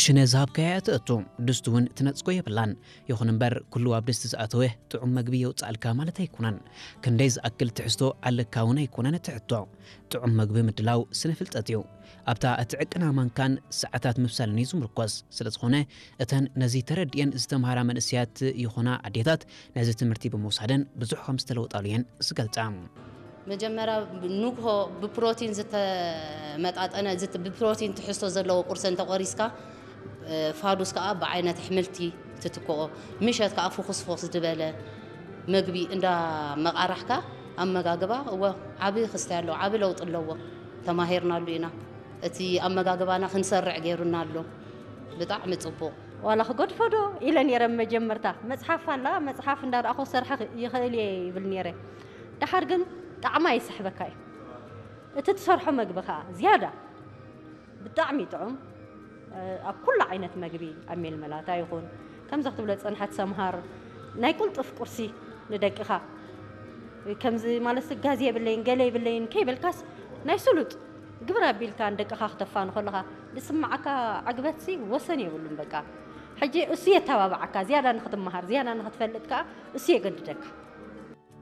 ሽነ ዝሃብካያ እትእቱ፣ ድስቲ እውን ትነጽጎ የብላን። ይኹን እምበር፣ ኩሉ ኣብ ድስቲ ዝኣተወ ጥዑም መግቢ የውጽኣልካ ማለት ኣይኮነን። ክንደይ ዝኣክል ትሕዝቶ ኣለካ እውን ኣይኮነን እቲ ሕቶ። ጥዑም መግቢ ምድላው ስነ ፍልጠት እዩ። ኣብታ እትዕቅና ማንካን ሰዓታት ምብሳልን እዩ ዝምርኮስ። ስለ ዝኾነ፣ እተን ነዚ ተረዲኤን ዝተምሃራ መንእሰያት ይኾና ኣዴታት፣ ነዚ ትምህርቲ ብምውሳደን ብዙሕ ከም ዝተለወጣሉ እየን ዝገልጻ። መጀመርያ ንግሆ ብፕሮቲን ዝተመጣጠነ፣ ዝት-፣ ብፕሮቲን ትሕዝቶ ዘለዎ ቁርሲ እንተቆሪስካ፣ እ፣ ፋዱስ ከኣ ብዓይነት ኣሕምልቲ ትትክኦ፣ ምሸት ከኣ ፍኹስፉስ ዝበለ መግቢ እንዳ መቓራሕካ ኣመጋግባ፣ እወ፣ ዓቢ ክስታይ ኣለዎ፣ ዓቢ ለውጢ ኣለዎ። ተማሂርናሉ ኢና። እቲ ኣመጋግባና ክንሰርዕ ገይሩና ኣሎ። ብጣዕሚ ጽቡቕ። ዋላ ክገድፎ ዶ ኢለ ነይረ መጀመርታ። መጽሓፍ ኣላ፣ መጽሓፍ እንዳረኣኹ ክሰርሐ ይኽእል እየ ይብል ነይረ። ደሓር ግን ጣዕማ ይስሕበካ እዩ። እቲ ትሰርሖ መግቢ ከኣ ዝያዳ ብጣዕሚ ጥዑም፣ እ፣ ኣብ ኩሉ ዓይነት መግቢ፣ ኣብ ሜልመላታ ይኹን፣ ከምዚ ክትብሎ ዝጸንሐት ሰምሃር፣ ናይ ቁልጡፍ ቁርሲ ንደቅኻ፣ ከምዚ ማለት ጋዝ የብለይን፣ ገለ የብለይን ከይበልካስ፣ ናይ ስሉጥ ግብር ኣቢልካ ንደቅኻ ክተፋኑ ከለኻ ዝስምዓካ ዕግበትሲ ወሰን የብሉን። በቃ፣ ሕጂ እሱ የተባብዓካ፣ ዝያዳ ንኽትመሃር፣ ዝያዳ ንኽትፈልጥ ከኣ እሱ የገድደካ።